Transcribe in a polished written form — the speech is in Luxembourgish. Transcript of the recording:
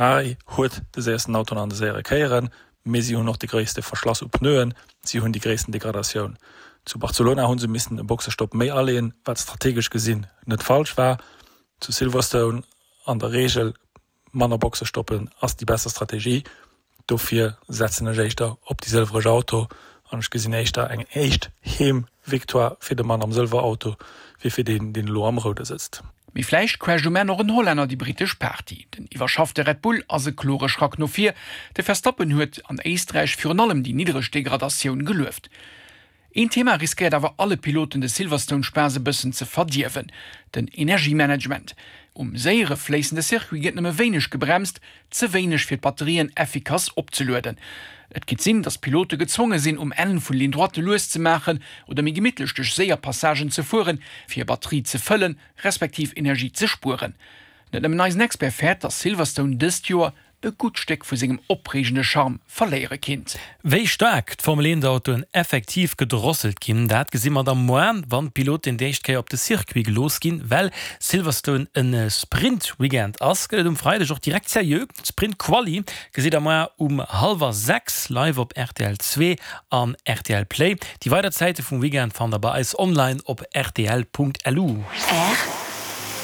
Ferrari huet de séiersten Auto an de séiere Kéieren, mee si hunn och de gréisste Verschlass u Pneuen, si hunn déi gréissten Degradatioun. Zu Barcelona hu se missen e Boxestopp méi aleeën, wat strategesch gesinn net falsch war. Zu Silverstone an der Reegel manner Boxestoppen ass déi besser Strategie. Dofir setzen ech éischter op déi sëlwereg Auto an ech gesinn éischter eng éischt Heem-Victoire fir de Mann am Sëlwer-Auto wéi fir deen, deen elo am Roude sëtzt. Mee vläicht crasht um Enn och en Hollänner déi brittesch Party. Den iwwerschaffte Red Bull ass e klore Schrack no vir. De Verstappen huet an Éisträich virun allem déi niddereg Degradatioun gelueft. Een Thema riskéiert awer alle Piloten de Silverstone-Spaass e bëssen ze verdierwen, den Energiemanagement. Um séiere fléissende Circuit gëtt nëmme wéineg gebremst, ze wéineg fir d'Batterien effikass opzelueden. Et kinnt sinn, datt d'Pilote gezwonge sinn, um Enn vun Ligne droite lues ze maachen oder méi gemittlech duerch séier Passagen ze fueren, fir hir Batterie ze fëllen, respektiv Energie ze spueren. Net nëmmen eisen Expert fäert, datt Silverstone dëst Joer e gutt Stéck vu sengem opreegende Charme verléiere kinnt. Wéi staark d'Formel 1 Autoen effektiv gedrosselt ginn, dat gesi mer da moar, wann d'Piloten déi éischt Kéier op de Circuit gelooss ginn. Well Silverstone e Sprint-Weekend ass, gëtt et um Freideg och direkt seriö. D'Sprint Quali gesitt der moar um hallwer 6 live op rtl 2 an rtl Play. Déi weider Zäite vum Weekend fannt der bei eis online op rtl.lu.